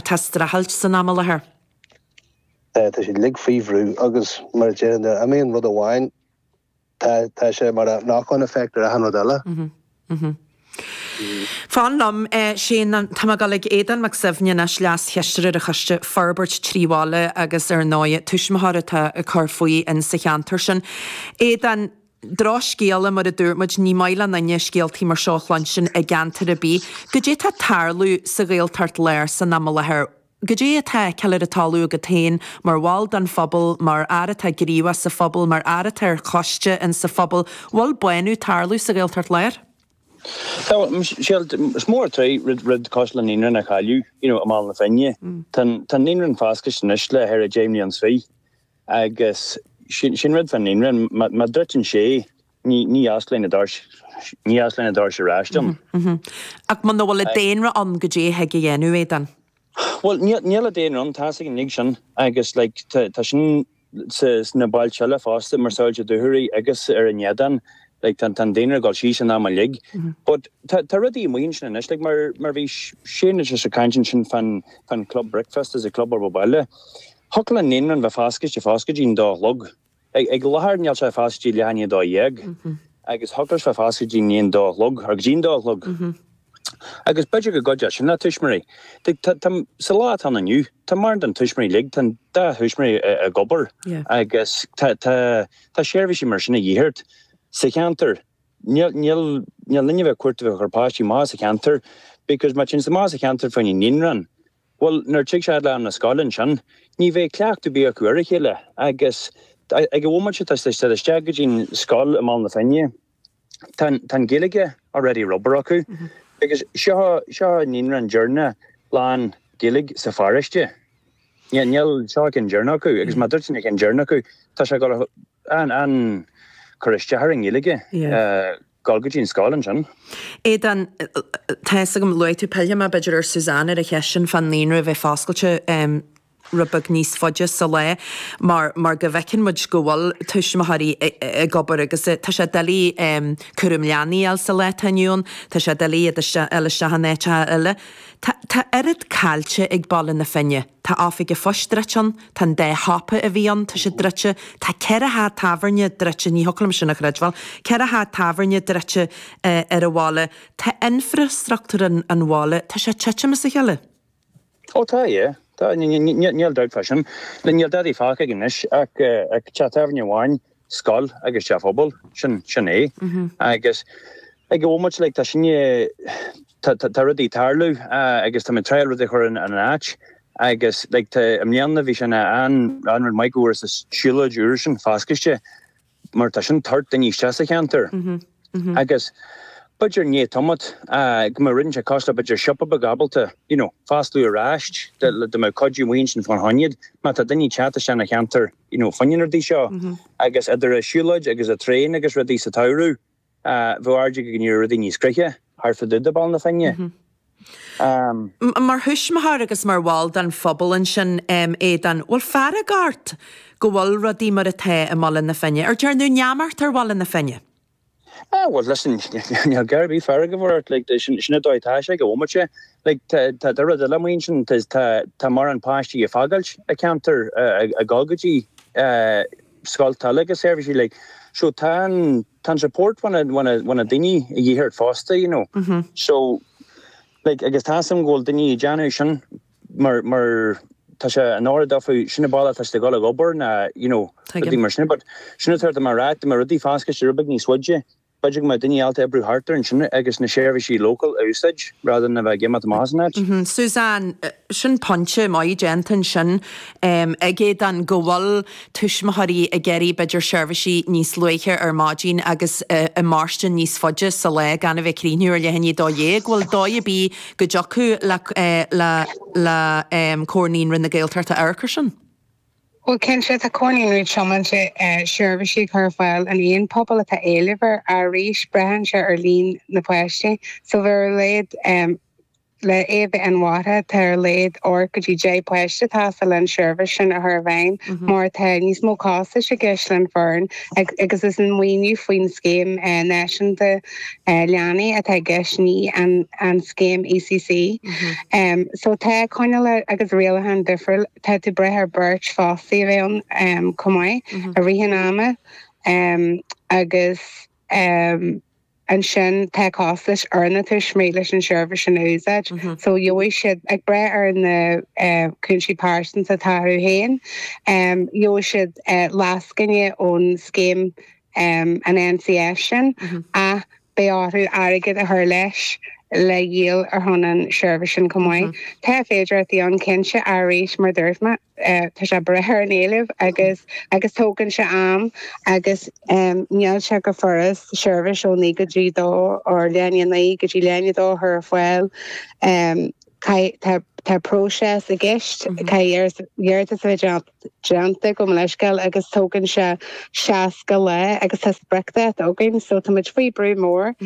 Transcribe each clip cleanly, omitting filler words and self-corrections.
atá ag streachailt san am i láthair. Tá siad uilig faoi bhrú agus mar a deir, nuair a imíonn rud amháin, tá tá sé mar a knock-on effect ar achan rud eile. Fan liom, Shane, tá mé ag dul ag Aodán Mac Suibhne anois, Leas-Chisteoir ar an Choiste Forbairt Trí Bhaile agus ar ndóigh tuismitheoir atá ag cur faoi in sa cheantar sin. Aodán, drochscéala mar a dúirt muid, ní maith le éinne scéaltaí mar seo a chluinstin i gceantar ar bith. Goidé tá ag tarlú sa Ghaeltacht Láir san am i láthair? Goidé atá á fheiceáil ar an talamh agat féin mar bhall den phobal, mar fhear atá gníomhach sa phobal, mar fhear atá ar choiste in sa phobal, bhfuil bánú ag tarlú sa Ghaeltacht Láir? Tá, Michelle, is mór an trua rud cosúil le naíonra a chailleadh, you know, i mBaile na Finne. Tá an naíonra foscailte anois le thar 10 mbliana is fiche agus sin rud fán naíonra, má druideann sé, ní osclaíonn na doirse, ní osclaíonn na doirse ar ais dom. Ach muna bhfuil an daonra ann, goidé a thig a dhéanamh, Aodán? Bhuel, níl an daonra ann, tá's againn uilig sin agus like tá sin sa sna bailte eile fosta mar Soillte Dúchoraidh agus ar an Fheadán, like tá an daonra ag dul síos an am uilig. But tá tá rudaí amuigh ansin anois, like mar mar bhí Shane just ag caint ansin fán fán club breakfast is an club ar baile. Thiocfadh le naíonra bheith foscailte fós go dtí'n dó a chlog. Ag láthair níl sé foscailte go dtí leath i ndiaidh a 12 agus thiocfadh leis bheith foscailte go dtí an dó a chlog or go dtí an dó a chlog. Agus b'fhéidir go gcuideodh sin le tuismitheoirí. Sa lá atá ann inniu, tá mórán den tuismitheoirí uilig, tá an dá thuismitheoirí ag obair agus tá tá seirbhísí mar sin a dhíth ort sa cheantar. Níl níl níl duine a bheith cuairt a bheith ag cur páistí amach as an cheantar because má téann siad amach as an cheantar fá choinne naíonra, Bhuel, nuair a tig siad le am na scoile ansin, ní bheidh cleachtadh ar bith acu ar a chéile agus ag an bhomaite tá siad isteach go dtí'n scoil i mBaile na Finne, tá an Ghaeilge already ar obair acu agus seo, seo an naíonra deireanach lán Gaeilge sa pharóiste. Níl, seo an ceann deireanach acu agus má druideann an ceann deireanach acu, tá sé ag dul an, an cur isteach ar an nGaeilge. Dul go dtí an scoil ansin. Aodán, Tá fhios agam, luaigh tú, pillfidh mé b'fhéidir ar Suzanne ar an cheist sin fán naíonra a bheith foscailte rud beag níos faide sa lá mar mar go bhfeiceann muid go bhfuil tuismitheoirí ag obair agus tá sé doiligh cúram leanaí a fháil sa lá atá inniu ann, tá sé doiligh iad a fháil isteach in áiteacha eile. Tá tá oiread caillte ag Baile na Finne. Tá oifig an phoist druidte ann, tá an dá shiopa a bhí ann, tá siad druidte, tá ceithre theach tábhairne druidte, ní thiocfadh liom sin a chreidbheáil, ceithre theach tábhairne druidte ar an bhaile, tá infreastruchtúr an bhaile, tá sé ag titim as a chéile. Ó tá, yeah. Tá, níl dabht fá sin. Níl dadaí fágtha againn anois ach teach tábhairne amháin, scoil agus teach pobail, sin, sin é. Agus ag an bhomaite, like, tá sinne, tá, tá rudaí ag tarlú agus tá muid ag triail rudaí a chur ina n-áit agus, like, tá, i mbliana bhí sé ina an, an rud maith go bhfuair an siúlóid úr sin foscailte mar tá sin ag tabhairt daoine isteach sa cheantar agus b'fhéidir i ndiaidh tamaill go mbeadh rud inteacht cosúil le b'fhéidir siopa beag ábalta, you know, fosclú ar ais dá mbeadh cuidiú amuigh ansin fán choinne iad má tá daoine ag teacht isteach ina cheantar you know, fá choinne na rudaí seo agus idir an siúlóid agus an traein agus rudaí sa tsamhradh, bheadh airde go ndéarfaidh rudaí níos craice thart fá dtaobh de Baile na Finne. Mar thuismitheoir agus mar bhall den phobal ansin, Aodán, bhfuil fearg ort go bhfuil rudaí mar atá i mBaile na Finne? Ar déarnadh neamart ar Bhaile na Finne? Ah, bhuel, listen, níl gá ar bith fearg a bheith ort, like, sin an dóigh atá sé ag an bhomaite. Like, tá, tá, tá rud eile amuigh ansin, tá, tá, tá mórán páistí ag fágáilt an ceantar, ag dul go dtí scoilte eile agus seirbhísí, like, so tá an, tá an support ó na, ó na, ó na daoine a dhíth ort fosta, you know. So, like, agus tá 'fhios a'm go bhfuil daoine ag déanamh sin mar, mar tá sé in áirithe dófa, sin an bealach atá siad ag dul ag obair ná, you know, rudaí mar sin, but sin atá mé a rá, dá mbeadh rudaí foscailte rud beag níos faide, b'fhéidir go mbeadh daoine ábalta oibriú thart ar ansin agus na seirbhísí local a úsáid rather than a bheith ag imeacht amach as an áit. Suzanne, Sin pointe maith déanta ansin ag Aodán go bhfuil tuismitheoirí ag iarraidh b'fhéidir seirbhísí níos luaithe ar maidin agus ag mairstin níos faide sa lá gan a bheith ag críochnú ar leath i ndiaidh 12. Bhfuil dóigh ar bith go dtiocfadh le le le Comhar Naíonraí na Gaeltachta amharc air sin? Bhuel, cinnte, tá Comhar Naíonraí tiomanta seirbhísí a chur ar fáil in aon pobal atá éileamh air. Arís, braitheann sé ar líon na páistí. So bheadh ar a laghad. Le é a bheith inmharthana, tá ar a laghad 8 go dtí 10 páiste ag teastáil leis an seirbhís sin a chur i bhfeidhm mar tá níos mó costais i gceist leis an foireann agus is an maoiniú faoin scéim náisiúnta leanaí atá i gceist, ní an scéim ECC. So tá coinníollacha agus rialacháin difriúil. Tá tú ag brath ar beirt fostaí a bheith ann chomh maith i rith an ama agus. Ansin tá costais ar na tuismitheoirí leis an seirbhís sin a úsáid. So gheobhaidh siad, ag brath ar na cúinsí pearsanta atá orthu féin, gheobhaidh siad lascaine ón scéim an NCF sin ach beidh orthu airgead a chur leis le dhíol ar shon an seirbhís sin chomh maith. Tá féidearthachtaí ann cinnte ach arís mar dúirt mé. Tá sé ag brath ar an éileamh agus agus tógann sé am agus níl sé go furast seirbhís ó 9 go dtí 2 or leath i ndiaidh 9 go dtí leath i ndiaidh 2 a chur ar fáil. Tá tá próiseas i gceist, caithfidh iarratas a bheith déanta gabh mo leithscéal agus tógann sé 60 lá agus tá spriocdháta againn so tá muid faoi brú mór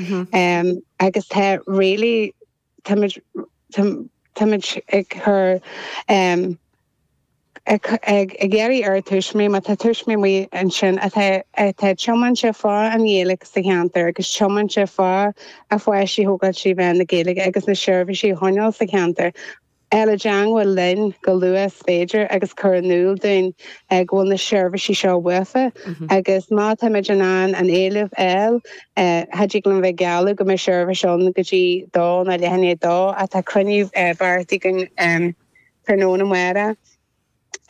agus tá really Táimid, táimid ag cur, ag, ag iarraidh ar tuismitheoirí, má tá tuismitheoirí amuigh ansin atá, atá tiomanta fá an Ghaeilge sa cheantar agus tiomanta fá a pháistí a thógáil trí mheán na Gaeilge agus na seirbhísí a choinneáil sa cheantar, dul i dteangmháil linn go luath is féidir agus cur in iúl dúinn go bhfuil na seirbhísí seo uafa agus má táimid in ann an éileamh a fháil, cha dtig liom bheith ag gealladh go mbeidh seirbhís ann go dtí dó nó leath i ndiaidh dó ach tá cruinniú beartaithe againn tráthnóna amárach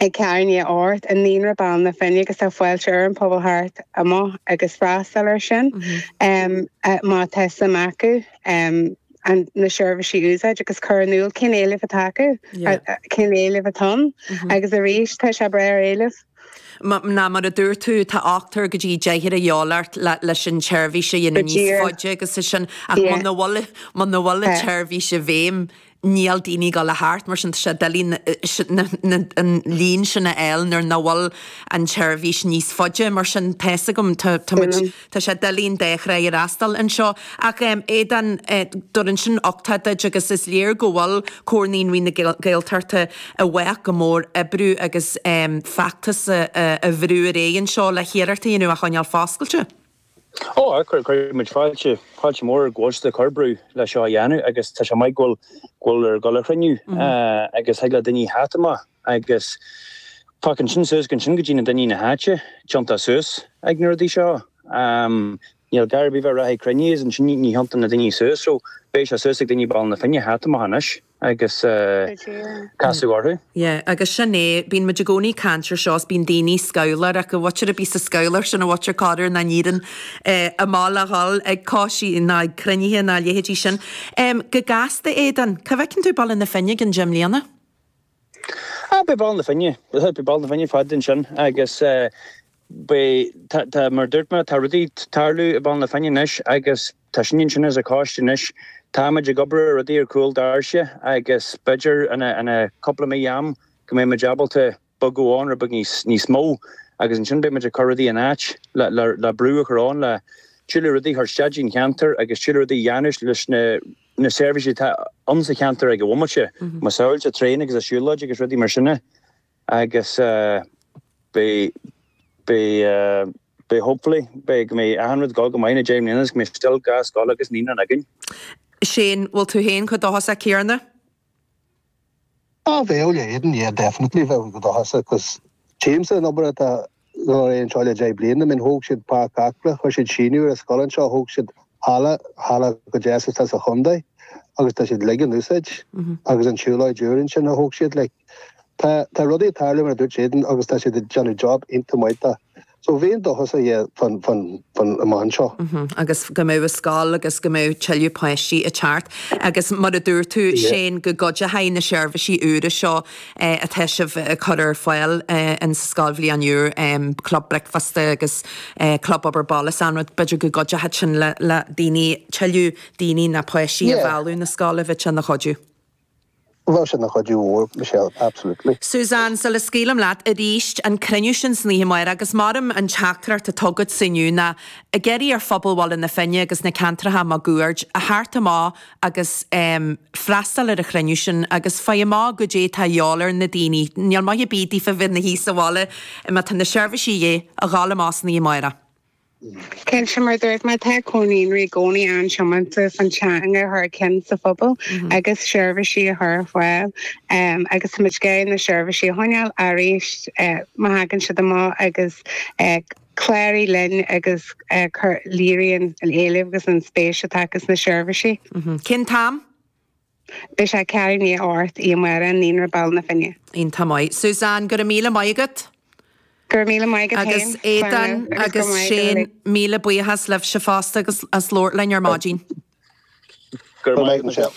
ag ceathrú i ndiaidh a 8 i Naíonra Baile na Finne agus tá fáilte ar an pobal theacht amach agus freastal air sin má tá suim acu na seirbhísí a úsáid agus cur in iúl cén éileamh atá acu, cén éileamh atá ann agus arís tá sé ag brath ar éileamh. Ná mar a dúirt tú, tá ochtar go dtí deichniúr a dhíobháil ort leis an tseirbhís a dhéanamh níos faide agus é sin ach muna bhfuil muna bhfuil an tseirbhís i bhfeidhm níl daoine ag dul a theacht, mar sin tá sé doiligh an líon sin a fháil nuair nach bhfuil an tseirbhís níos faide, mar sin tá fhios agam, tá muid, tá sé doiligh an dá thrá a fhreastal anseo. Ach Aodán, dúrann sin uchtach duit agus is léir go bhfuil Comhar Naíonraí na Gaeltachta i bhfách go mór oibriú agus feachtas a bhrú ar aghaidh anseo le hiarracht a dhéanamh a choinneáil foscailte. Ó, cuirfidh muid fáilte, fáilte mór go bhfuil siad ag cur brú le seo a dhéanamh agus tá sé maith go bhfuil, go bhfuil ar dhul a chruinniú agus thig le daoine theacht amach agus féachann sin suas go ansin go dtí na daoine na háite tiontach suas ag na rudaí seo. Níl gá ar bith bheith rachaidh cruinniú agus ansin ní thiontann na daoine suas so beidh sé suas ag daoine Baile na Finne theacht amach anois. agus casadh orthu. Yeah, agus sin é, bíonn muid i gcónaí ag caint ar seo is bíonn daoine scamhláir ach an mhuintir a bíos sa scamhláir sin an mhuintir corruair nach n-éiríonn amach le dhul ag coisí ná ag cruinnithe ná a leithéidí sin. Go gasta, Aodán, cá bhfeiceann tú Baile na Finne i gcionn deich mbliana? Ah, beidh Baile na Finne, beidh Baile na Finne fada ansin agus Beidh, tá, tá, mar a dúirt mé, tá rudaí ag tarlú i Baile na Finne anois agus tá sinne ansin as an choiste anois. Táimid ag obair ar rudaí ar chúl doirse agus b'fhéidir ina, ina cúpla mí am go mbeidh muid ábalta bogadh ann rud beag níos, níos mó agus ansin beidh muid ag cur rudaí in áit le, le, le brú a chur ann le tuilleadh rudaí a chur isteach dtí'n cheantar agus tuilleadh rudaí a dhéanamh leis na, na seirbhísí atá ann sa cheantar ag an bhomaite, mar shampla traein agus a siúlóid agus rudaí mar sin. Agus beidh, beidh, beidh hopefully, beidh, go mbeidh achan rud ag dul go maith na 10 mbliana agus go mbeidh still dhá scoil agus naíonra againn. Shane, bhfuil tú féin chomh dóchasach céanna? Ah bheadh le Aidan, yeah definitely bheadh go dóchasach 'cause tchímse an obair atá dul ar aghaidh anseo le 10 bliana, I mean thóg siad Páirc Acla, chuir siad síneadh ar an scoil anseo, thóg siad halla, halla chomh deas atá sa chontae agus tá siad uilig in úsáid agus an tsiúlóid úr ansin a thóg siad like tá tá rudaí ag tarlú mar a dúirt Aidan agus tá siad ag déanamh job iontach maith de. So bheinn dóchasach yeah fán fán fán amach anseo. Agus go mbeadh an scoil agus go mbeadh tuilleadh páistí ag teacht agus mar a dúirt tú Shane go gcuideochaidh na seirbhísí úra seo atá sibh ag cur ar fáil in sa scoilbhliain úr, club bricfeasta agus club obair baile is an rud, b'fhéidir go gcuideochaidh sin le le daoine, tuilleadh daoine ná páistí a mhealladh na scoile, bheadh sé ina chuidiú. Bheadh sé ina chuidiú mhór, Michelle, absolutely. Suzanne, sula scaoilim leat, arís, an cruinniú sin san oíche amárach agus maram an teachtaireacht atá agatsa inniu ná ag iarraidh ar phobal Bhaile na Finne agus na ceantracha máguaird a theacht amach agus freastal ar an chruinniú sin agus faigh amach goidé atá a dhíobháil ar na daoine. Níl maith ar bith daofa bheith ina shuí sa bhaile má tá na seirbhísí a dhíth, a ghabháil amach san oíche amárach. Cinnte, mar a dúirt mé, tá Comhar Naíonraí i gcónaí an-tiomanta fan teanga a chur chun cinn sa phobal agus seirbhísí a chur ar fáil agus tá muid ag iarraidh na seirbhísí a choinneáil arís má thagann siad amach agus cláraigh linn agus léiríonn an éileamh agus an spéis atá acu sna seirbhísí. Cén t-am? Beidh sé ceathrú i ndiaidh a 8 oíche amárach i Naíonra Baile na Finne. Iontach maith. Suzanne, go raibh míle maith agat. Go raibh míle maith agat féin. Agus Aodán agus Shane, míle buíochas libhse fosta agus as labhairt linn ar maidin. Go raibh maith agat, Michelle.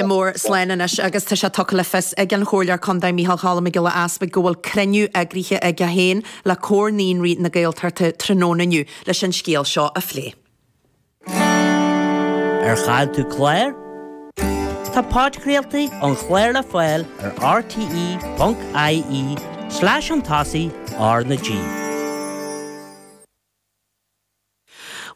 Mór, slán anois agus tá sé tugtha le fios ag an Chomhairleoir Contae Micheál Cholm Mac Giolla Easpaig go bhfuil cruinniú eagraithe aige féin le Comhar Naíonraí na Gaeltachta tráthnóna inniu leis an scéal seo a phlé. Ar chaill tú clár? Tá podchraoltaí an chláir le fáil ar rte.ie slash chun tosaigh R na G.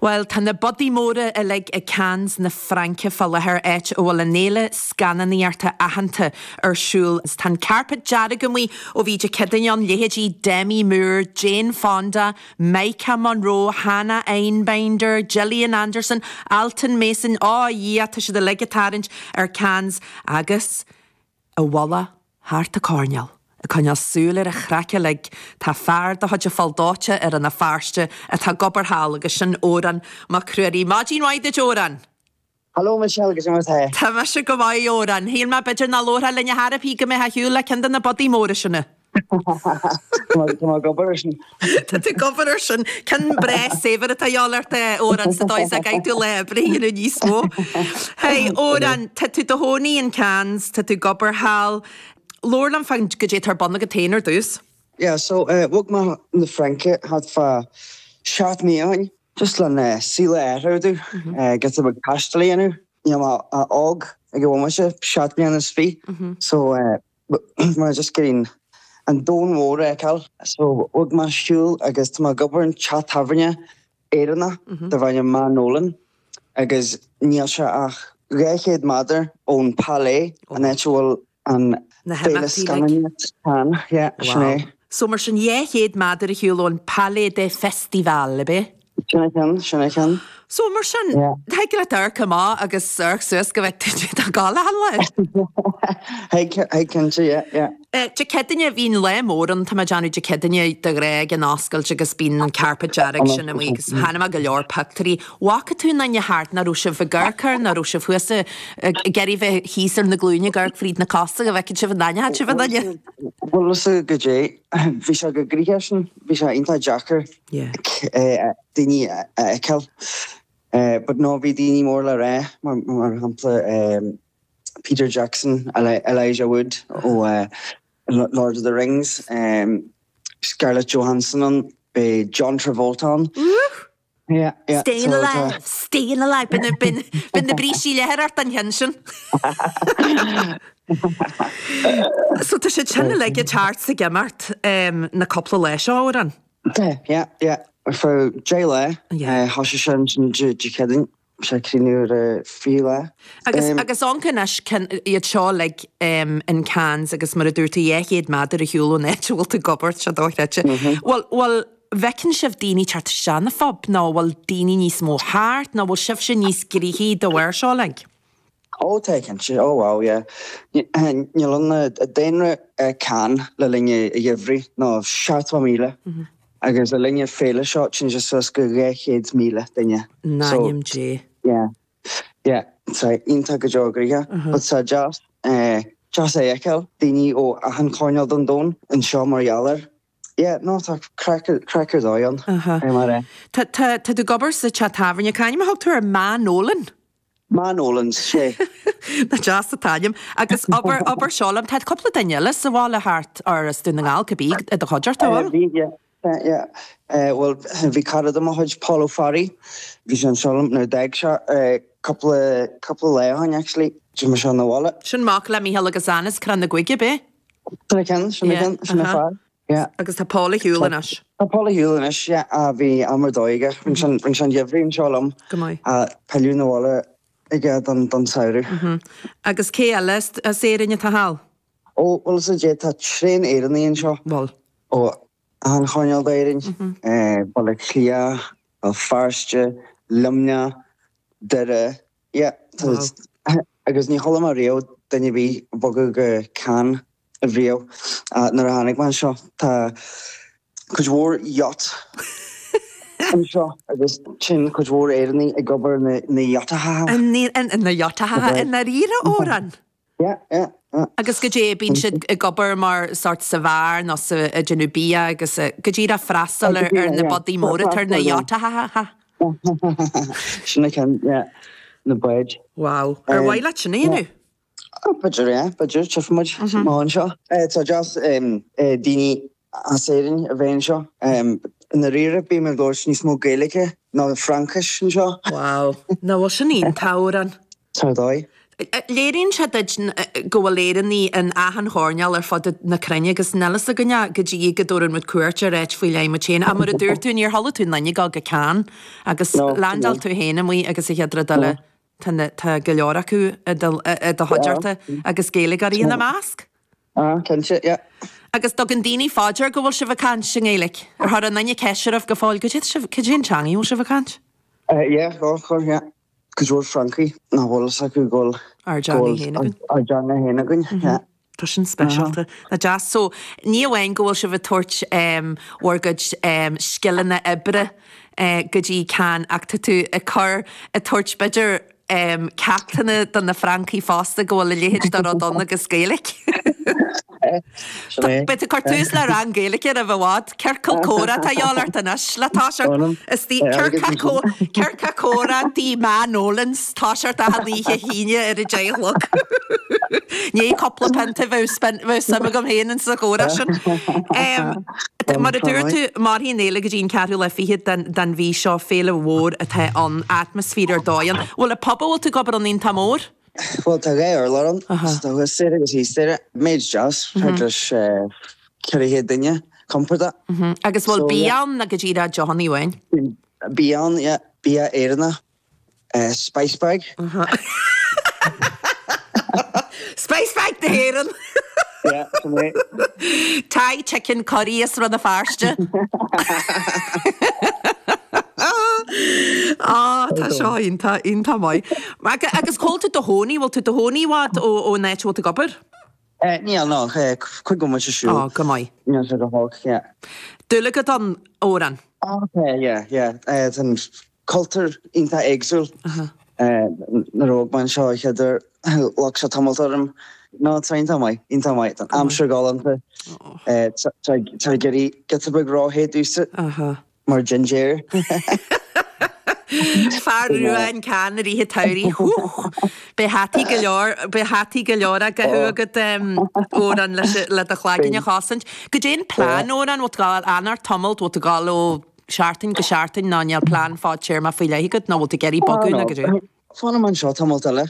Bhuel, tá na budaí móra uilig ag Cannes na Fraince fá láthair, áit a bhfuil an fhéile scannánaíochta aitheanta ar siúl. Tá an carpet dearg amuigh ó bhí Dé Céadaoine ann, leithéidí Demi Moore, Jane Fonda, Maika Monroe, Hannah Einbinder, Gillian Anderson, Alton Mason, á a Dhia, tá siad uilig ag tarraingt ar Cannes agus i bhfolach thart an choirnéal, ag coinneáil súil ar an chraic uilig, tá fear de chuid an Pholl Dóite i Rann na Feirste atá ag obair thall agus sin Odhrán Mac Ruairí. Maidin mhaith duit, Odhrán! Hello Michelle, goidé mar tá? Tá mise go maith, a Odhráin. Shíl mé b'fhéidir nach labharfá linn ar chor ar bith go mbeifeá ar shiúl le ceann de na budaí móra sin. Tá mé ag obair ar sin. Tá tú ag obair ar sin. Ceann breá saibhir atá a dhíobháil ort, a Odhráin, sa dóigh is go gcaithfidh tú lá oibre a dhéanamh níos mó. Hey, Odhrán, tá tú i do chónaí in Cannes, tá tú ag obair thall. Labhair liom fán goidé atá ar bun agat féin ar dtús. Yeah, so, bhog mé chun na Fraince thart fá sheacht mí ó shin. Just le an saol a athrú, giota beag taistil a dhéanamh. Níl mé ach óg ag an bhomaite, seacht mbliana is fiche, so mé just ag iarraidh an domhan mhór a fheiceáil. So bhog mé ar shiúl agus tá mé ag obair in teach tábhairne Éireannach darb ainm Ma Nolan agus níl sé ach 200 méadar ón Palais, an áit a bhfuil An Na Féile himeachtaí like. Scannánaíocht Cannes, yeah, sin Wow. é. So mar sin 200 méadar ar shiúl ón Palais des Festivals, ab é? Sin é ceann, sin é ceann. So mar sin, Yeah. thig leat amharc amach agus amharc suas go bhfeicfidh tú ag gabháil achan lá. Thig, thig cinnte, yeah, yeah. Dé Céadaoine, bhí an lá mór ann, tá mé ag déanamh Dé Céadaoine de ghnáth ag an oscailt agus bíonn an carpet dearg sin amuigh agus chonaic mé go leor pictiúirí. Bhfaca tú aon duine thart, nach raibh sibh ag amharc air, nach raibh sibh thuas ag iarraidh bheith thíos ar na glúine ag amharc fríd na cosa go bhfeicfeadh sibh an aithneodh sibh aon duine? Bhuel is ea goidé, bhí sé go gnoitheach sin, bhí sé iontach deacair daoine a fheiceáil. But no, bhí daoine mór le rá, mar shampla Peter Jackson, Elijah Wood ó Lord of the Rings, Scarlett Johansson ann, beidh John Travolta ann. Yeah, yeah. Stayin' alive, stayin' alive. B'in, b'in, b'in na brístí leathair ort an cheann sin. So tá siad sin uilig ag teacht 's ag imeacht na cúpla lá seo, a Odhráin. Yeah, yeah, yeah. Ar feadh 10 lá, thosaigh sé ansin Dé Céadaoin. Sé cruinniú ar an 20ú lá. Agus, agus amharc anois, iad seo uilig in Cannes agus mar a dúirt tú 200 méadar ar shiúl ón áit a bhfuil tú ag obair, tá sé dochreidte. Bhfuil, bhfuil, bhfeiceann sibh daoine teacht isteach na phub nó bhfuil daoine níos mó thart nó bhfuil sibhse níos gnoithí de bharr seo uilig? Ó tá cinnte, ó wow yeah. Níl ann daonra Cannes le linn an gheimhridh ná 70,000 agus le linn an féile seo téann sé suas go 200,000 duine. In ainm Dé. Yeah yeah tá iontach go deo gnoitheach but tá deas deas é a fheiceáil daoine ó achan choirnéal den domhan anseo mar gheall air. Yeah no tá craic craic ar dóigh ann mar é. Tá tá tá tú ag obair sa teach tábhairne, cá ainm a thug tú air? Ma Nolan? Ma Nolan's, sé. Nach deas an t-ainm. Agus abair, abair seo liom, tá cúpla duine eile sa bhaile thart, or as Dún na nGall, cibé, i do chuideachta, an bhfuil? Bhí, yeah, yeah. Bhuel, bhí cara de mo chuid, Paul Ó Fearraigh, bhí sé anseo liom nuair a d'fhág sé cúpla, cúpla lá ó shin actually. D'imigh sé 'na bhaile. Sin mac le Mícheál agus Anne as Crann na gCuig, ab é? Sin é ceann, sin é ceann, sin é fear. Yeah. Agus tá Paul ar shiúl anois. Tá Paul ar shiúl anois, yeah. Bhí am ar dóigh aige. Rinne sé, rinne sé an geimhreadh anseo liom. Go maith. Pilleadh 'na bhaile aige don, don samhradh. Agus cé eile as Éirinn atá thall? Ó, bhuel is é, tá tréan Éireannaigh anseo. Bhuel. Ó achan choirnéal d'Éirinn, Baile Átha Cliath, Béal Feirste, Luimneach, Doire, yeah, agus ní chuala mé riamh duine ar bith ag bogadh go Cannes riamh nuair a tháinig mé anseo. Tá cuid mhór yacht anseo agus sin cuid mhór Éireannaigh ag obair na yachacha. Na yachacha i ndáiríre, Odhrán? Yeah, yeah, yeah. Agus goidé, bíonn siad ag obair mar sort sa bheár nó sa, ag déanamh bia agus go díreach freastal ar, ar na bádaí móra atá ar na yachacha. Sin é ceann, yeah, na báid. Wow. Ar mhaith leat sin a dhéanamh? Oh, b'fhéidir, yeah, b'fhéidir, tchífidh muid amach anseo. Tá deas daoine as Éirinn a bheith anseo. I ndáiríre, bím ag labhairt níos mó Gaeilge ná Fraincis anseo. Wow. Nach bhfuil sin iontach, Odhrán? Tá ar dóigh. Léiríonn sé duit go bhfuil Éireannaigh in achan choirnéal ar fud na cruinne agus níl fhios againne go dtí go dtabharann muid cuairt ar áit faoi leith muid féin. Ach mar a dúirt tú, níor chuala tú aon duine ag dul go Cannes agus landáil tú féin amuigh agus an chéad rud eile tá na, tá go leor acu i do, i do chuideachta agus Gaeilgeoirí ina measc. Ah, cinnte, yeah. Agus dtugann daoine fá dear go bhfuil sibh ag caint i nGaeilge? Ar chuir aon duine ceist oraibh go fóill, goidé sibh, cad é an teanga a bhfuil sibh ag caint? Yeah, chuir, yeah. Cuid mhór Francaigh nach bhfuil fhios acu go bhfuil Ár dteanga féin againn. Ár dteanga féin againn, yeah. Tá sin speisialta. Nach deas. So, ní amháin go bhfuil sibh ag tabhairt bhur gcuid scileanna oibre go dtí Cannes ach tá tú ag cur, ag tabhairt b'fhéidir ceachtanna do na Francaigh fosta go bhfuil a leithéid de rud ann agus Gaeilge. Sin é. Beidh tú ag cur tús le rang Gaeilge roimh i bhfad. Ciorcal comhrá atá a dhíobháil ort anois le toiseacht. Ciorcal comhrá tí Ma Nolans toiseacht achan oíche hAoine ar a deich a chlog. Ní cúpla pionta bheadh suim agam féin insa chomhrá sin. Mar a dúirt tú, mairfidh an fhéile go dtí an ceathrú lá fichead den mhí seo, féile mhór atá ann, atmaisféar ar dóigh ann. Bhfuil an pub a bhfuil tú ag obair ann iontach mór? Bhuel, tá dhá urlár ann, tá thuas staighre agus thíos staighre. Méid deas, thart leis 400 duine, compordach. Agus bhfuil bia ann nó go díreach deochanna amháin? Bia ann, yeah. Bia Éireannach. Spice bag. Spice bag na hÉireann! Yeah, sin é. Thai chicken curry as Rann na Feirste. Á, tá seo iontach, iontach maith. Agus cá bhfuil tú i do chónaí, bhfuil tú i do chónaí i bhfad ón áit a bhfuil tú ag obair? Níl, no, cúig bhomaite siúil. Á, go maith. Níl sé go holc, yeah. Dúil agat ann, Odhrán? Á, yeah, yeah. Tá an cultúr iontach éagsúil. Nuair a bhog mé anseo an chéad uair, ghlac sé tamalt orm. No, tá iontach maith, iontach maith. Tá an aimsir galánta. Tá ag éirí giota beag róthe domhsa. Mar jinjéir. Fear rua in Cannes i rith an tsamhraidh. Beidh hataí go leor, beidh hataí go leor á gcaitheamh agat, Odhrán, le do chlaigeann a chosaint. Goidé an plean, Odhrán, bhfuil tú ag gabháil a fhanacht tamalt, bhfuil tú ag gabháil ó sheachtain go seachtain nó níl plean fadtéarmach faoi leith agat nó bhfuil tú ag iarraidh bogadh nó goidé? Fanfaidh mé anseo tamalt eile,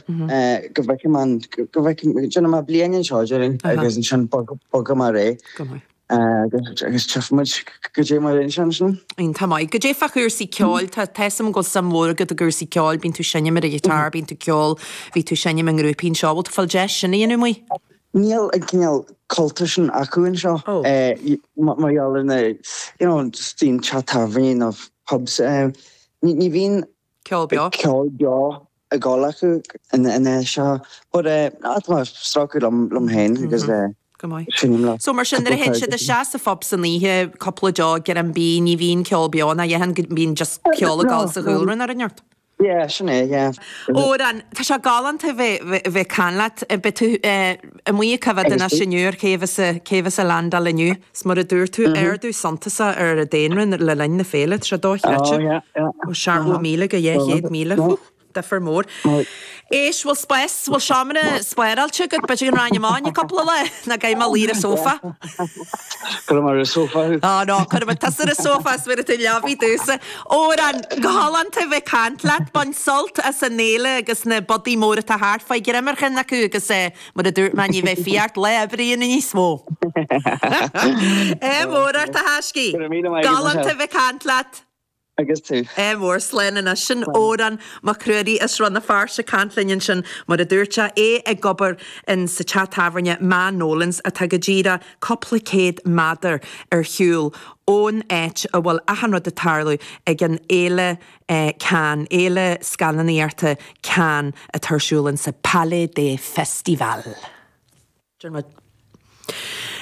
go bhfeicfidh mé an, go bhfeicfidh, déanfaidh mé bliain anseo, déarfainn, agus ansin bogfaidh mé ar aghaidh. Go maith. Agus tchífidh muid goidé mar a théann sé ansin. Iontach maith. Goidé fá chúrsaí ceoil, tá tá 'fhios a'm go bhfuil suim mhór agat i gcúrsaí ceoil, bíonn tú ag seinm ar an ghiotár, bíonn tú ag ceol, bhí tú ag seinm i ngrúpaí anseo, bhfuil tú ag fáil deis sin a dhéanamh amuigh? Níl an cineál cultúr sin acu anseo mar gheall ar na, you know, just bíonn teach tábhairní nó pubs, ní bhíonn Ceol beo. Ceol beo ag dul acu ina seo. But eh tá mé ag strácadh liom liom féin agus eh Go maith. seinnim le So mar sin nuair a théann siad isteach sa phub san oíche, cúpla deoch, greim bídh, ní bhíonn ceol beo ná a dhath ann, go mbíonn just ceol ag dul sa chúlra nó rud inteacht. Yeah, sin é, yeah. Odhrán, tá sé galánta bheith bheith ag caint leat. Beidh tú amuigh ag coimhéad anois inniu ar cé a bheas cé a bheas ag landáil inniu. 'S mar a dúirt tú, ardú suntasach ar an daonra le linn na féile, tá sé dochreidte. Ó 70,000 go 200,000, whew! Difear mór. Éist, bhfuil spás, bhfuil seomra spáráilte agat, b'fhéidir go raghainn amach i gcúpla lá, nó caithfidh mé luí ar an sófa. Cuirfidh mé ar an sófa thú. Á no, cuirfidh mé tusa ar an sófa is bhéarfaidh tú leabaidh domhsa. Odhrán, go galánta a bheith ag caint leat, bain sult as an fhéile agus na budaí móra atá thart, faigh greim ar cheann acu agus eh, mar a dúirt mé, ní bheidh fiach ort lá oibre a dhéanamh níos mó. Ádh mór ort a thaiscidh. Go raibh míle maith agat, Galánta a bheith ag caint leat. Agus tú. Ádh mór, slán anois. Sin Odhrán Mac Ruairí as Rann na Feirste ag caint linn ansin, mar a dúirt sé, é ag obair in sa teach tábhairne Ma Nolan's atá go díreach cúpla céad méadar ar shiúl ón áit a bhfuil achan rud ag tarlú ag an fhéile Cannes, Fhéile Scannánaíochta Cannes atá ar siúl in sa Palais des Festivals.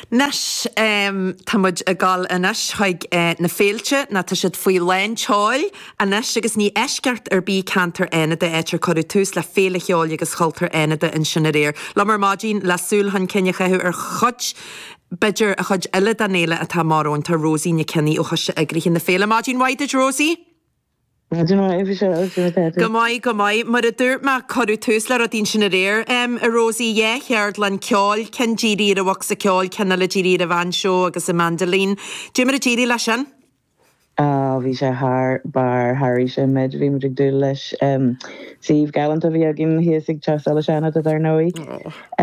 Anois, tá muid ag dul anois chuig na féilte, nó tá siad faoi lán tseoil anois agus ní eisceacht ar bith ceantar Fhánada, áit ar cuireadh tús le Féile Cheoil agus Chultúir Fhánada ansin aréir. Liom ar maidin le súil chun cinn a chaitheamh ar chuid, b'fhéidir, an chuid eile den fhéile atá amach romhainn, tá Rosie Nic Cionnaith ó Choiste Eagraithe na Féile. Maidin mhaith duit, Rosie! Maidin mhaith, a Mhichelle, conas atá tú? Go maith, go maith. Mar a dúirt mé, cuireadh tús le rudaí ansin aréir, a Rosie, 2 cheardlann ceoil, ceann dírithe ar an bhocsa ceoil, ceann eile dírithe ar an bhainseó agus an mandolin. Dé mar a d'éirigh leis sin? Á, bhí sé thar barr, sháraigh sé an méid a bhí muid ag dúil leis. Suíomh galánta a bhí againn thíos ag Teach Solais Fhánada, dar ndóigh.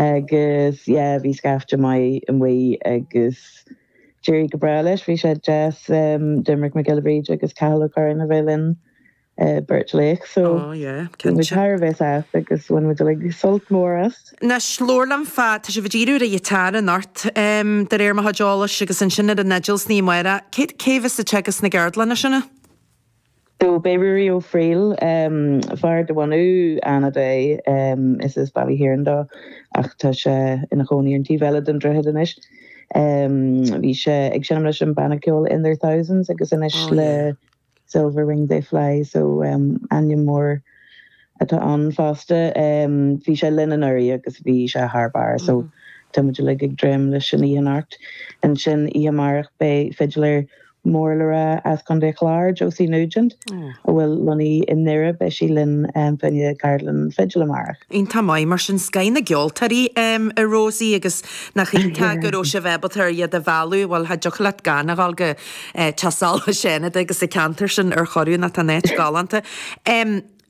Agus, yeah, bhí scaifte maith amuigh agus D'éirigh go breá leis. Bhí sé deas Doimnic Mac Giolla Bhríde agus Cathal Ó Curráin a bheith linn, beirt laoch. So bhí muid thar a bheith sásta agus bhain muid uilig sult mór as. Anois, labhair liom fá, tá sibh ag díriú ar an ghiotár anocht, de réir mo chuid eolais, agus ansin ar an fhidil san oíche amárach. Cé cé a bheas ag teagasc na gceardlanna sin? So beidh Ruairí Ó Frighil, fear de bhunadh Fhánada é, is as Baile Thiaráin dó ach tá sé ina chónaí ar an taobh eile den droichead anois. Bhí sé ag seinm leis an banna ceoil In Their Thousands agus anois le Silver Wing They Fly so ainm mór atá ann fosta. Bhí sé linn anuraidh agus bhí sé thar barr so tá muid uilig ag dréim leis an oíche anocht. Ansin oíche amárach beidh fidléir mór le rá as Contae an Chláir, Josie Nugent, a bhfuil lonnaithe i nDoire, beidh sí linn fá choinne ceardlann fidil amárach. Iontach maith, mar sin scoth na gceoltóirí a Rosie agus nach iontach go raibh sibh ábalta ar iad a mhealladh, bhuel cha dtiocfadh leat gan a dhul go Teach Solais Fhánada agus an ceantar sin ar chor nó tá an áit galánta.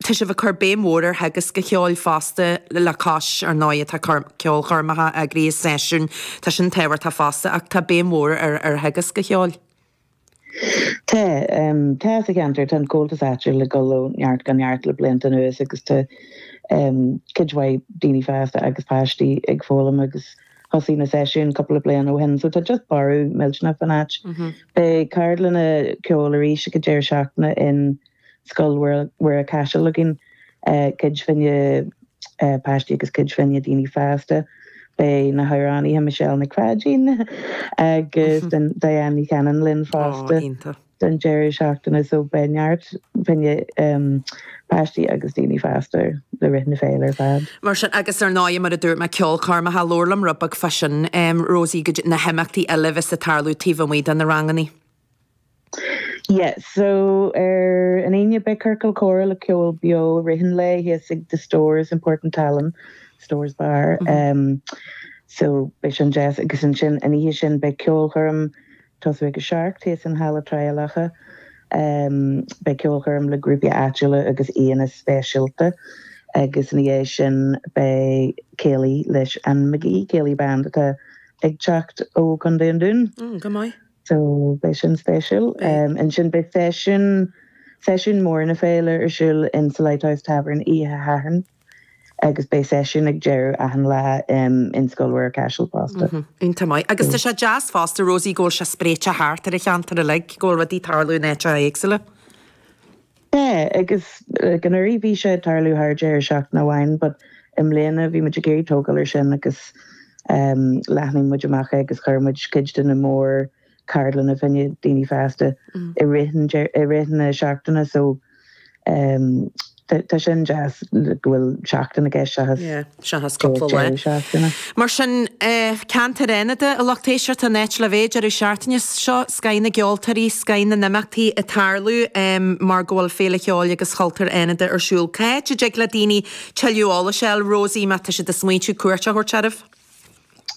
Tá sibh ag cur béim mhór ar theagasc an cheoil fosta le cois, ar ndóigh, tá ceolchoirmeacha eagraithe, seisiúin, tá sin tábhachtach fosta ach tá béim mhór ar ar theagasc an cheoil. Tá. Tá sa cheantar. Tá an Comhaltas áitiúil ag dul ó neart go neart le blianta anuas agus tá cuid mhaith daoine fásta agus páistí ag foghlaim agus thosaigh na seisiúin cúpla bliain ó shin so tá just borradh millteanach fan áit. Beidh ceardlanna ceoil arís ag an deireadh seachtaine in Scoil Mhuire Caiseal againn, cuid fá choinne páistí agus cuid fá choinne daoine fásta. Beidh na hamhránaithe Michelle Nic Pháidín agus Diane Ní Chanainn linn fosta don deireadh seachtaine so beidh neart fá choinne páistí agus daoine fásta le rith na féile ar fad. Mar sin, agus ar ndóigh, mar a dúirt mé, ceolchoirmeacha, labhair liom rud beag fá sin, Rosie, go na himeachtaí eile a bheas ag tarlú taobh amuigh de na rangannaí. Yeah, so ar an Aoine beidh ciorcal comhrá le ceol beo i rith an lae thíos ag The Stores in Port an tSalainn, Stores Bar. Um, so beidh sin deas agus ansin an oíche sin beidh ceolchoirm tosú ag a seacht thíos in Halla Trá Locha. Um, beidh ceolchoirm le grúpaí áitiúla agus aíonna speisialta agus ina dhiaidh sin beidh céilí leis an McGee Céilí Band atá ag teacht ó Contae an Dúin. Mm, go maith. So beidh sin spéisiúil. Ansin beidh seisiún, seisiún mór na féile ar siúl in sa Lighthouse Tavern oíche Shathairn agus beidh seisiún ag deireadh achan lá in Scoil Mhuire Caiseal fosta. Iontach maith. Agus tá sé deas fosta, Rosie, go bhfuil sé spréite thart ar an cheantar uilig, go bhfuil rudaí ag tarlú in áiteacha éagsúla. Yeah, agus like anuraidh bhí sé ag tarlú thar deireadh seachtaine amháin but i mbliana bhí muid ag iarraidh tógáil ar sin agus ehm leathnaigh muid amach é agus chuir muid cuid de na mór ceardlanna fá choinne daoine fásta i rith an i rith na seachtaine so ehm. Tá sin deas go bhfuil seachtain i gceist seachas Yeah, seachas cúpla lá. deireadh seachtaine. Mar sin, ceantar Fhánada, a lucht éisteachta, an áit le bheith deireadh seachtaine seo, scoth na gceoltóirí, scoth na n-imeachtaí ag tarlú mar go bhfuil Féile Cheoil agus Chultúir Fhánada ar siúl. Cá háit a dtig le daoine tuilleadh eolais a fháil, Rosie, má tá siad ag smaointiú cuairt a thabhairt oraibh?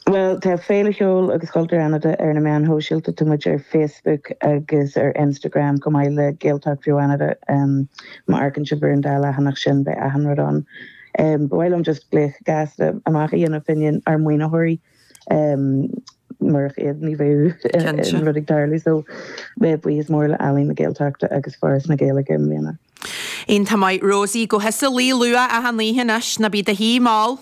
Bhuel, tá Féile Cheoil agus Chultúir Fhánada ar na meáin shóisialta. Tá muid ar Facebook agus ar Instagram chomh maith le Gaeltacht Bheo Fhánada. Má amharcann sibh ar an dá leathanach sin beidh achan rud ann. Ba mhaith liom just glaoch gasta amach a dhéanamh fá choinne ár maoinitheoirí. Murach iad ní bheadh an rud ag tarlú. So buíochas mór le Ealaín na Gaeltachta agus Foras na Gaeilge i mbliana. Iontach maith Rosie, gabh thusa a luí luath achan oíche anois, ná bí i do shuí mall.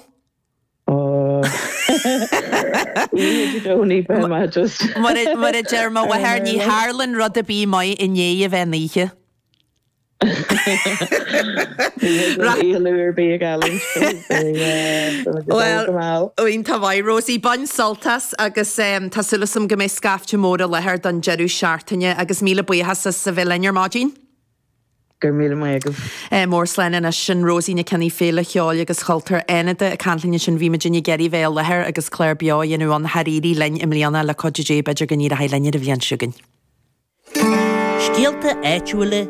Mar a deir mo mháthair, ní tharlann rud ar bith maith i ndiaidh a bheith in oíche. Bhuel, iontach maith, Rosie. Bain sult as agus tá súil agam go mbeidh scaifte mór i láthair don deireadh seachtaine agus míle buíochas as a bheith linn ar maidin. Go raibh míle maith agaibh. Mór slán anois. Sin Rosie Nic Cionnaith, Féile Cheoil agus Chultúir Fhánada ag caint linn ansin. Bhí muidinne ag iarraidh bheith i láthair agus clár beo a dhéanamh ann. Char éirigh linn i mbliana, le cuidiú Dé b'fhéidir go n-éireoidh linn ar an bhliain seo chugainn. Scéalta áitiúla,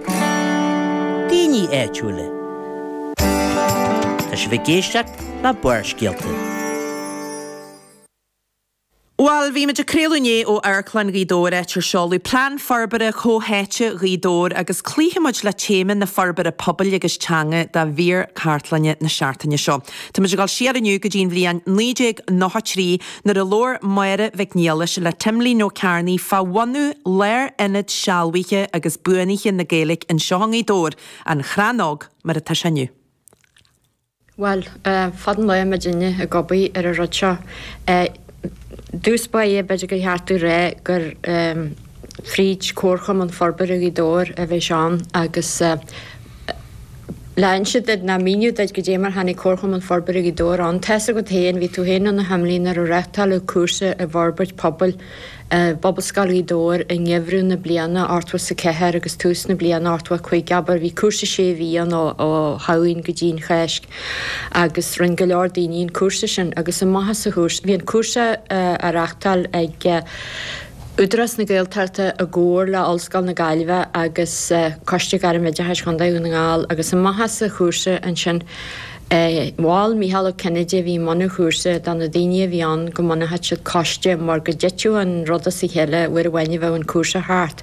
daoine áitiúla. Tá sibh ag éisteacht le Barrscéalta. Bhuel, bhí muid ag craoladh inné ó Amharclann Ghaoth Dobhair áit ar seoladh Plean Forbartha Comhtháite Ghaoth Dobhair agus cloífidh muid le téama na forbartha pobail agus teanga do mhír cartlainne na seachtaine seo. Tá muid ag dul siar inniu go dtí an bhliain 1993 nuair a labhair Máire Mhic Niallais le Timlín Ó Cearnaigh fá bhunú Lárionad Sealbhaithe agus Buanaithe na Gaeilge anseo i nGaoth Dobhair, An Chrannóg mar atá sé inniu. Bhuel, fada an lá muidinne ag obair ar an rud seo. Dtús báire, b'fhéidir gur cheart domh rá gur fríd Comharchumann Forbartha Ghaoth Dobhair a bhí sé ann agus le inse duit ná míniú duit goidé mar tháinig Comharchumann Forbartha Ghaoth Dobhair ann, tá's agat féin, bhí tú féin ann a Thimlín nuair a reáchtáladh cúrsa i bhforbairt pobail i bPobalscoil Ghaoth Dobhair i ngeimhreadh na bliana 84 agus tús na bliana 85, abair. Bhí cúrsa sé mhí ann ó Shamhain go dtí an Cháisc agus rinn go leor daoine an cúrsa sin agus amach as an chúrsa, bhí an cúrsa á reachtáil ag Údarás na Gaeltachta i gcomhar le Ollscoil na Gaillimhe agus Coiste Gairmoideachais Chontae Dhún na nGall agus amach as an chúrsa ansin Mhol Mícheál Ó Cinnéide, a bhí i mbun an chúrsa, do na daoine a bhí ann go mbunódh siad coiste mar go dtitfeadh an rud as a chéile uair amháin a bheadh an cúrsa thart.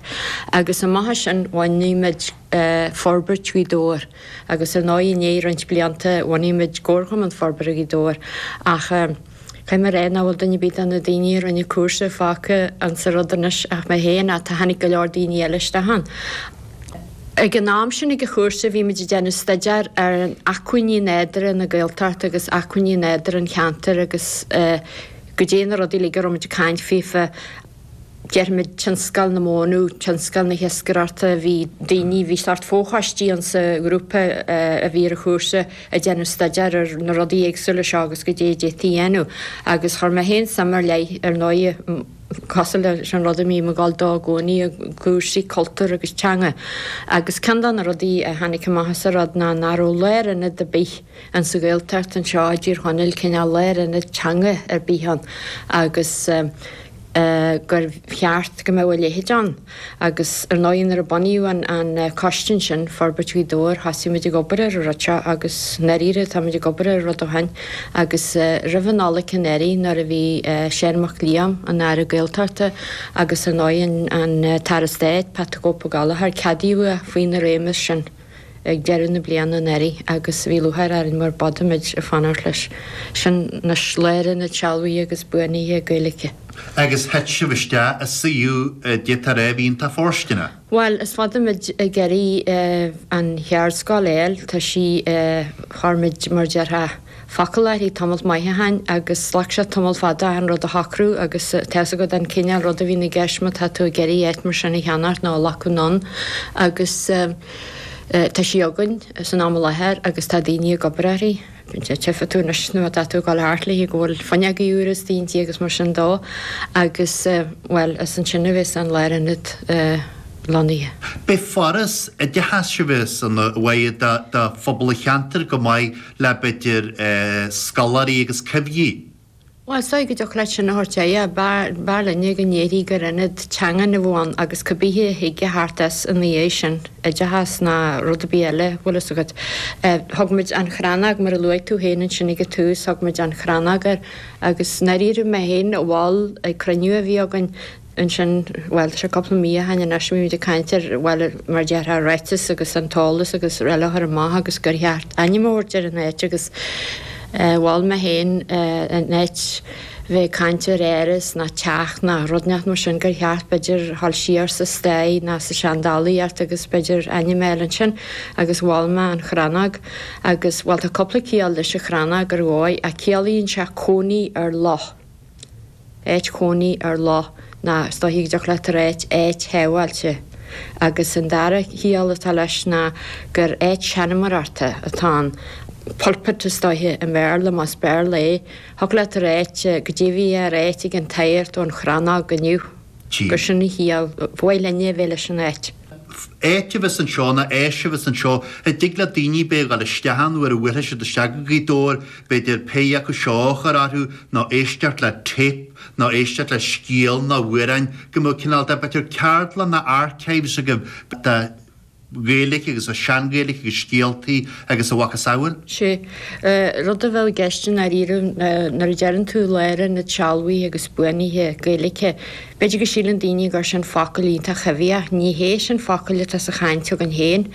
Agus amach as sin bhunaigh muid Forbairt Ghaoth Dobhair agus ar ndóigh i ndiaidh roinnt blianta bhunaigh muid Comharchumann Forbartha Ghaoth Dobhair ach caithfidh mé a rá nach bhfuil duine ar bith de na daoine a rinne an cúrsa fágtha insa rud anois ach mé féin ach tá tháinig go leor daoine eile isteach ann. Ag an am sin ag an chúrsa bhí muid ag déanamh staidéar ar acmhainní nádúrtha na Gaeltachta agus acmhainní nádúrtha an cheantair agus goidé na rudaí uilig a raibh muid ag caint faofa, déarfaimid tionscal na mónadh, tionscal na hiascaireachta, bhí daoine, bhí sórt fochoistí ann sa ghrúpa a bhí ar an chúrsa ag déanamh staidéar ar na rudaí éagsúla seo agus goidé a d'fhéadfaí a dhéanamh agus chuir mé féin suim ar leith ar ndóigh cosúil leis an rud a mbím ag dul dó i gcónaí, i gcúrsaí cultúir agus teanga. Agus ceann de na rudaí a tháinig amach as an rud ná nach raibh lárionad ar bith in sa Ghaeltacht anseo i dTír Chonaill, cineál lárionad teanga ar bith ann agus gur cheart go mbeadh a leithéid ann. Agus ar ndóigh nuair a bunaíodh an coiste ansin, Forbairt Ghaoth Dobhair, thosaigh muid ag obair ar an rud seo agus i ndáiríre tá muid ag obair ar an rud ó shin agus roimh an Nollaig anuraidh nuair a bhí Seán Mac Liam, an Aire Gaeltachta agus ar ndóigh an tAire Stáit, Pat the Cope Ó Gallchóir, ceadaíodh é faoina réimeas sin. ag deireadh na bliana anuraidh agus bhí lúcháir orainn mar b'fhada muid ag fanacht leis. Sin anois lárionad sealbhaithe agus buanaithe Gaeilge. Agus thit sibh isteach i suíomh a d'fhéadfá a rá a bhí iontach fóirsteanach. Bhuel, is fada muid ag iarraidh an Cheardscoil a fháil, tá sí, chuir muid, mar déarfá, focal uirthi tamalt maith ó shin agus ghlac sé tamall fada achan rud a shocrú agus tá fhios agat an cineál rud a bhíonn i gceist má tá tú ag iarraidh áit mar sin a cheannacht nó a ghlacadh anonn agus tá sí againn san am i láthair agus tá daoine ag obair uirthi. Tchífidh tú anois nuair atá tú ag dul thart léi go bhfuil fuinneogaí úra istigh inti agus mar sin dó agus bhuel is ansin a bheas an lárionad. lonnaithe. Beidh foras oideachais a bheas ann uaidh do phobal an cheantair chomh maith le b'fhéidir scoláirí agus coimhthígh. Bhuel, is dóigh go dtiocfadh leat sin a thabhairt air, yeah. B'fhearr linne go ndéarfaí gur ionad teangan a bheadh ann agus cibithe a thig a theacht as ina dhiaidh sin, oideachas ná rud ar bith eile, bhfuil fhios agat. Thug muid An Chrannóg, mar a luaigh tú féin ansin ag an tús, thug muid An Chrannóg air agus i ndáiríre mé féin a mhol ag cruinniú a bhí againn, ansin, bhuel, tá sé cúpla mí ó shin anois, bhí muid ag caint ar, bhuel, mar a déarfá, ráiteas agus an t-eolas agus araile a chur amach agus gur cheart ainm a thabhairt ar an áit agus mhol mé féin in áit bheith ag caint ar áras ná teach ná rud inteacht mar sin gur cheart b'fhéidir dhul siar sa stair ná sa seandálaíocht agus b'fhéidir ainm a fháil ansin agus mhol mé an Chrannóg agus, bhuel, tá cúpla ciall leis an Chrannóg ar dhóigh ach ciallaíonn sé cónaí ar loch. áit chónaí ar loch ná is dóichí go dtiocfadh leat a ráit áit shábháilte. Agus an dara ciall atá leis ná gur áit seanmóireachta atá ann, pulpit is dóiche i mBéarla, más Béarla é. Thiocfadh leat a ráit goidé a bhí á ráit ag an tsagart ón Chrannóg inniu. Gur sin an chiall ba mhaith linne a bheith leis an áit. Áit a bheas anseo ná áis a bheas anseo a dtig le daoine b'fhéidir a dhul isteach ann nuair a bhuailfidh siad isteach go Gaoth Dobhair, b'fhéidir pé acu seo a chur orthu nó éisteacht le tape nó éisteacht le scéal nó amhráin, go mbeadh cineál de, b'fhéidir ceardlann nó archives agaibh de Ghaeilge agus de shean-Ghaeilge agus scéaltaí agus a mhacasamhail. Sé rud a bheadh i gceist i ndáiríre nuair a deireann tú lárionad sealbhaithe agus buanaithe Gaeilge, b'fhéidir go síleann daoine gur sin focal iontach coimhthíoch. Ní hé sin focal atá sa chaint againn féin.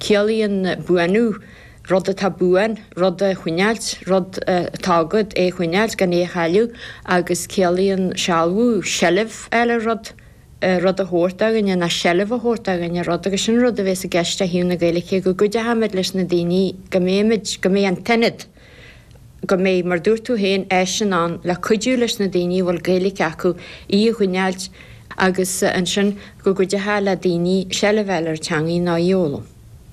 Ciallaíonn buanú rud atá buan, rud a choinneáilt, rud atá agat, é a choinneáilt gan é a chailleadh agus ciallaíonn sealbhú seilbh a fháil ar rud. rud a thabhairt do dhuine ná seilbh a thabhairt do dhuine ar rud agus sin rud a bhéas i gceist ó thaobh na Gaeilge, go gcuideochaimid leis na daoine, go mbeimid, go mbeidh an t-ionad, go mbeidh, mar dúirt tú féin, áiseanna ann le cuidiú leis na daoine a bhfuil Gaeilge acu í a choinneáilt agus ansin go gcuideochá le daoine seilbh a fháil ar an teangaidh nó í a fhoghlaim.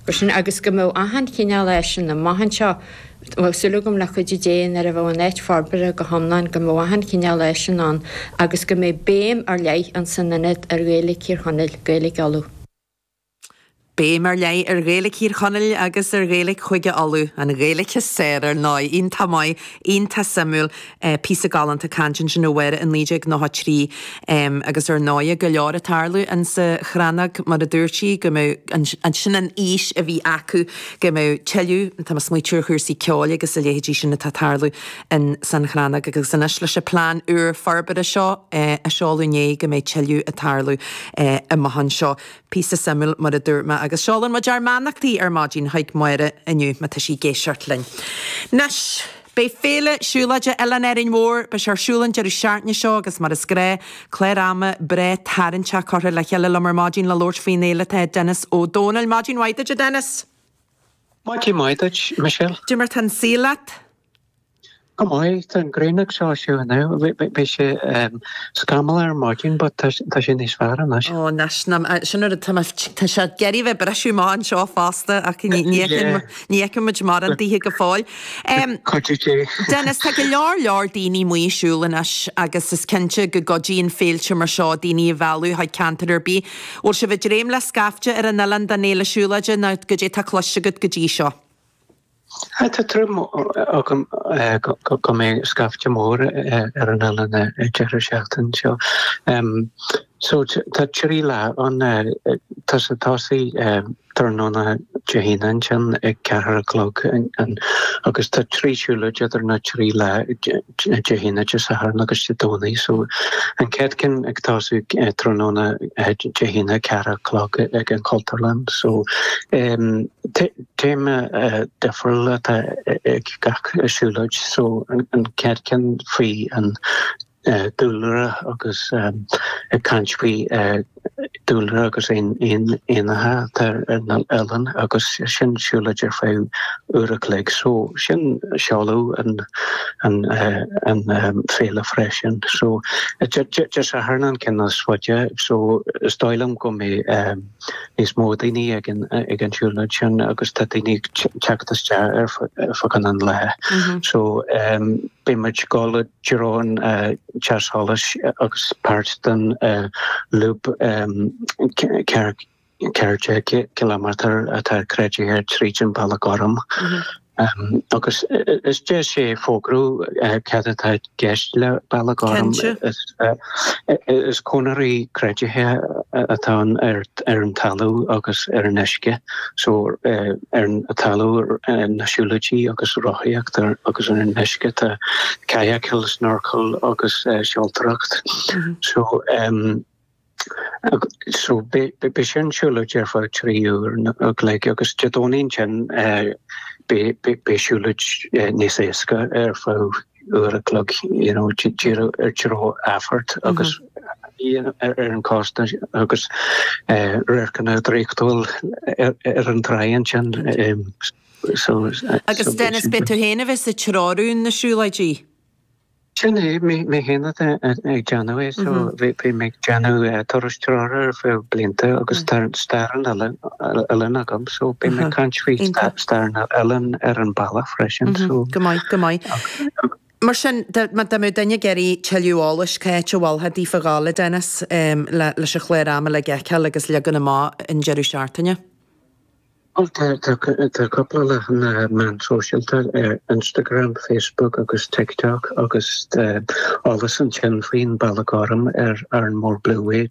Gur sin, agus go mbeadh achan chineál áiseanna amach anseo, bheadh súil agam le cuidiú Dé nuair a bheadh an áit forbartha go hiomlán go mbeadh achan chineál áiseanna ann agus go mbeidh béim ar leith ins an ionad ar Ghaeilge Thír Chonaill, Gaeilge Uladh. Béim ar leith ar Ghaeilge Thír Chonaill agus ar Ghaeilge Chúige Uladh, an Ghaeilge is fearr ar ndóigh. Iontach maith, iontach suimiúil. Píosa galánta cainte ansin ó Mháire i 1993 agus ar ndóighe go leor ag tarlú insa Chrannóg mar a dúirt sí go mbeadh sin an fhís a bhí acu go mbeadh tuilleadh, tá mé ag smaoitiú ar chúrsaí ceoil agus a leithéidí sin atá ag tarlú in san Chrannóg agus anois leis an plean úr forbartha seo a seoladh inné go mbeidh tuilleadh ag tarlú amach anseo. Píosa suimiúil mar a dúirt mé agus seolann muid ár mbeannachtaí ar maidin chuig Máire inniu má tá sí ag éisteacht linn. Anois. Beidh Féile Siúlóide Oileán Árainn Mhór, beidh sé ar siúl an deireadh seachtaine seo agus mar is gnáth, clár ama breá tarraingteach curtha le chéile liom ar maidin le labhairt faoin fhéile tá Denis Ó Domhnaill. Maidin mhaith duit a Dennis! Maidin mhaith duit, Michelle. Cad é mar tá an saol leat? Go maith, tá an ghrian ag soilsiú inniu. Bhí sé scamallach ar maidin but tá sé níos fearr anois. Ó anois, sin rud, tá tá sé ag iarraidh bheith briseadh amach anseo fosta ach ní ní fheiceann muid mórán daoithe go fóill. Cuidiú Dé. Dennis, tá go leor leor daoine amuigh ag siúl anois agus is cinnte go gcuidíonn féilte mar seo daoine a mhealladh chuig ceantar ar bith. Bhfuil sibh ag dréim le scaifte ar an oileán don fhéile siúlóide nó goidé tá cloiste agat go dtí seo? Tá tuairim agam go mbeidh scaifte mór ar an oileán an deireadh seachtaine seo. So tá 3 lá ann. Tá sé ag tosaí tráthnóna Dé hAoine ansin ag ceathair a chlog agus tá 3 siúlóid idir na 3 lá, Dé hAoine, Dé Sathairn agus Dé Domhnaigh. So an chéad ceann ag tosú tráthnóna Dé hAoine ceathair a chlog ag an Chultúrlann. So Téama difriúil atá ag gach siúlóid so an chéad ceann faoi an dúlra agus ag caint faoi dúlra agus éanacha atá ar an oileán agus sin siúlóid ar feadh uair a chloig so sin seoladh an an féile freisin. So Dé Sathairn an ceann is faide so is dóigh liom go mbeidh níos mó daoine ag an ag an siúlóid sin agus tá daoine ag teacht isteach ar feadh an lae. So. Beidh muid ag dul i dtreo an teach solais agus páirt den lúb 14 ciliméadar atá creidithe tríd an Bealach Gorm. Agus is deis é fógrú cad atá i gceist le Bealach Gorm. Is conairí creidithe atá ann ar an talamh agus ar an uisce. So ar an talamh na siúlóidí agus rothaíocht agus ar an uisce tá kayakáil, snorcáil agus seoltóireacht. So So beidh sin siúlóid ar feadh 3 uair an chloig agus Dé Domhnaigh ansin beidh siúlóid níos éasca ar feadh uair a chloig you know díreach ar treo Athphort agus ar an cósta agus radharcanna draíochtúil ar an tráigh ansin. So Agus Dennis beidh tú féin a bheas ag treorú na siúlóidí? Sin é, mé féin atá ag déanamh é, so bhí mé ag déanamh turais treoraithe ar feadh blianta agus tá stair an oileáin agam, so beidh mé ag caint faoi stair an oileáin ar an bealach freisin, so. Go maith, go maith. Mar sin, dá mbeadh duine ag iarraidh tuilleadh eolais, cá háit a mholfá daofa dhul, a Dennis, leis an chlár ama uilig a fheiceáil agus leagan amach an deireadh seachtaine? Bhuel, tá cúpla leathanach meán sóisialta ar Instagram, Facebook agus TikTok agus tá eolas ansin faoin Bealach Gorm ar Arranmore Blueway.